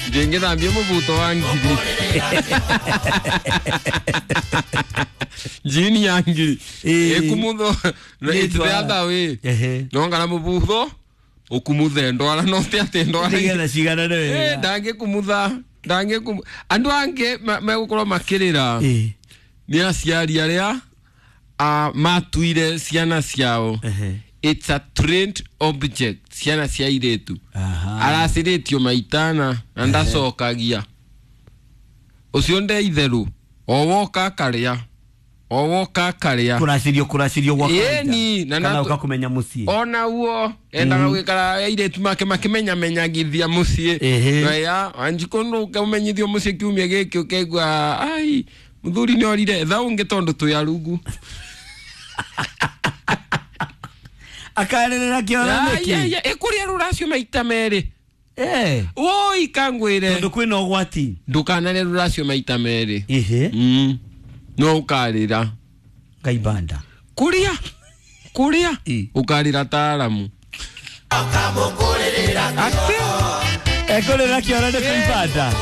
Ndingithambia mubuto wa ngiri jini ya ngiri ikumutho it's the other way. Nongana mubutho ukumuthe ndwara no ti ati ndwara Nĩgetha ciganane wega. Ndangĩkumutha ndangĩkumu andũ angĩ megũkorwo makĩrĩra nĩ aciari arĩa matuire ciana ciao. It's a trained object ciana cia airĩtu. Aracirĩtio maitana na ndacokagia ũcio nde itherũ o woka akarĩa o woka akarĩa Kũracirio gwa kawaida. Ĩni, na Kana na- ũka kũmenya mũciĩ. Ona guo endaga gwikara airĩtu make makĩmenyamenyagithia mũciĩ. Ya wanjikũ nũkaumenyithio mũciĩ kiumia gĩkĩ ũkaigua ai mũthuri nĩ orire tha ũngĩ tondũ twĩ arugu. Akarĩrĩra kĩoro nĩkĩ? Ĩkũrĩa rũracio maita merĩ. Woi kangwĩre. Tondũ kwĩna ũgwati. Ndũkanarĩe rũracio maita merĩ. No ũkarĩra. Ngaibanda. Kũrĩa kũrĩa ũkarĩra taaramu atĩ Ekũrĩra kĩoro nĩ kũibanda.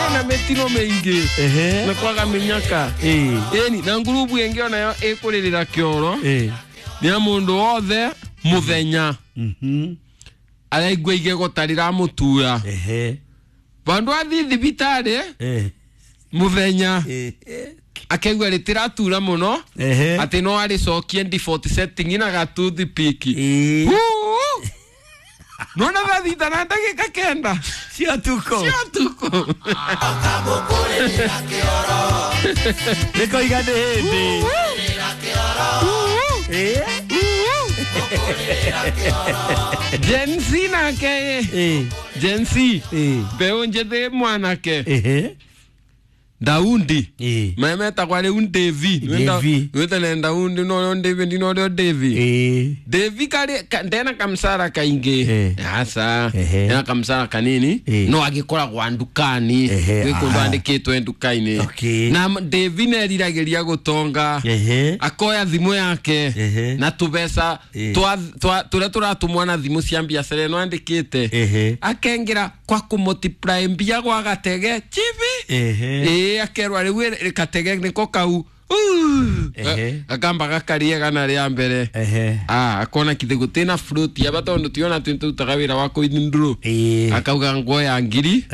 Ĩna mĩtino mĩingĩ na kwaga mĩnyaka. Ĩni na ngurubu ĩngĩ onayo ĩkũrĩrĩra kĩoro nĩ ya mũndũ wothe mũthenya araigua igego ta rĩramũtura vandũ athiĩ thibitarĩ mũthenya akaigua rĩtĩratura mũno atĩ no arĩcokie default setting na gatoothpick. Nona thaa thita na ndagĩka 9 Cia ũtukũ. Cia ũtukũ. Nĩkoiga nĩ hĩndĩ. Gen Z nake Gen Z mbeũ njĩthĩ mwanake Daundi memetagwa rĩu Devi. Devi. Wĩtene Daundi norĩo Devi ndinorĩo Devi. Devi karĩ ndena kamsara kaingĩ aca ena kamsara kanini no agĩkoragwa ndukani gwĩ kũndũ andĩkĩtwe nduka-inĩ. Na Devi neriragĩria gũtonga akoya thimũ yake na tũbeca tũrĩa tũratũmwo na thimũ cia biacara ĩno andĩkĩte akengera kwa kũmultiply mbia gwa gatege chibi ĩĩ akerwa rĩu gatege nĩko kau gakamba gakaria gana rĩa mbere. Akona kithe gũtĩ na fruit aba tondũ tiona twĩ tũrutaga wĩra wa kũithindũrũ akauga nguoya ngiri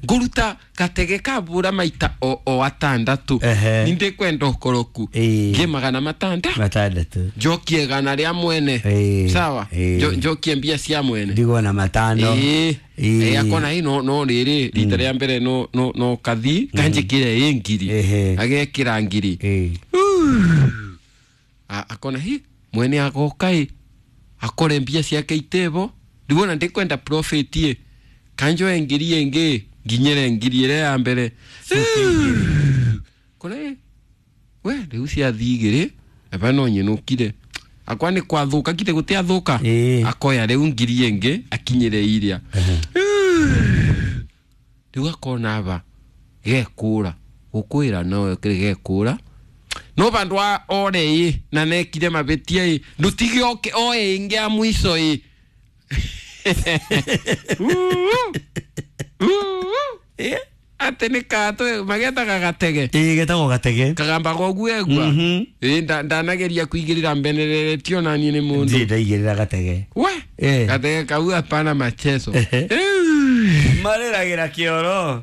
ngũruta gatege kambũra maita o atandatũ nindĩkwenda ũkoroku ngĩ 600 600. Njokie gana rĩa mwene sawa. Njokie mbia cia mwene. Ndigwo na 5. Ĩĩ akona ĩ no rĩrĩ rita rĩa mbere no kathi kanjĩkĩre ĩ ngiri agekĩra ngiri. Akona hi mwene agoka ĩ akore mbia ciake itebo rĩu ona ndikwenda profit ĩ kanjoe ngiri ĩngĩ nginyĩre ngiri ĩrĩa ya mbere kona ĩ we rĩu ciathi igĩrĩ aba no nyinũkire akwa nĩ kwathũka kite gũtiathũka akoya rĩu ngiri ĩngĩ akinyĩre iria rĩu akona aba gekũra gũkwĩra no gekũra no vandu a ore ĩ na nekire mavĩtia ĩ ndũtige oke oe ĩngĩ ya mwico ĩ atĩ nĩ katũ magetaga gatege. Ĩĩ getagwo gatege. Kagamba gogu egua ĩ ndanageria kuigĩrĩra mbenereretio na niĩ nĩ mũndũ Ndirĩ ndaigĩrĩra gatege. We gatege kau hapana machezo. Marĩragĩra kĩoro.